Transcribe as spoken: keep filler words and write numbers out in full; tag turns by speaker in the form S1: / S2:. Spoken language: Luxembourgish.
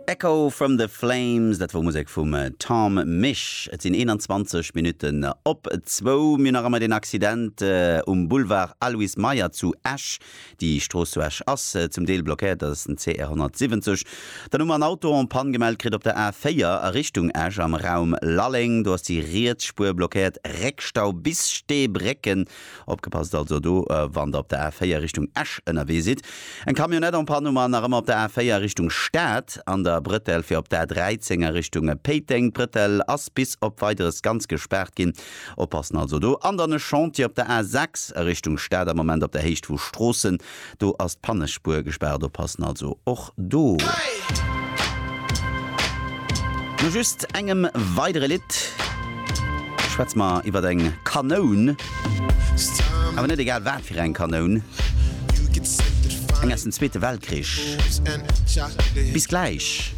S1: Echo from the Flames, dat wor Musek vum Tom Misch. Et sinn eenanzwanzeg Minutten op zwou. Mir hunn nach ëmmer den Accident um Boulevard Aloyse Meyer zu Esch. Déi Strooss zu Esch ass zum Deel blockéiert, dat ass den C R honnertsiwwenzeg. Dann hu mer en Auto en panne gemellt kritt op der A véier a Richtung Esch am Raum Lalleng. Do ass déi riets Spuer blockéiert, Réckstau bis Steebrécken. Opgepasst also do, wann der op der A véier Richtung Esch ënnerwee sidd. Eng Camionnette en panne hu mer nach ëmmer op der A véier Richtung Stad an der Brëttel fir op der A dräizéng a Richtung Péiteng. D'Brëttel ass bis op Weideres ganz gespaart ginn. Oppassen also do. An dann e Chantier op der A sechs a Richtung Stad am Moment op der Héicht vu Stroossen. Do ass d'Pannespuer gespaart. Oppassen also och do. No just engem weidere Lidd schwätze mer iwwer eng Kanoun. Awer net egal wat fir eng Kanoun. Eng aus dem Zweete Weltkrich. Bis gläich.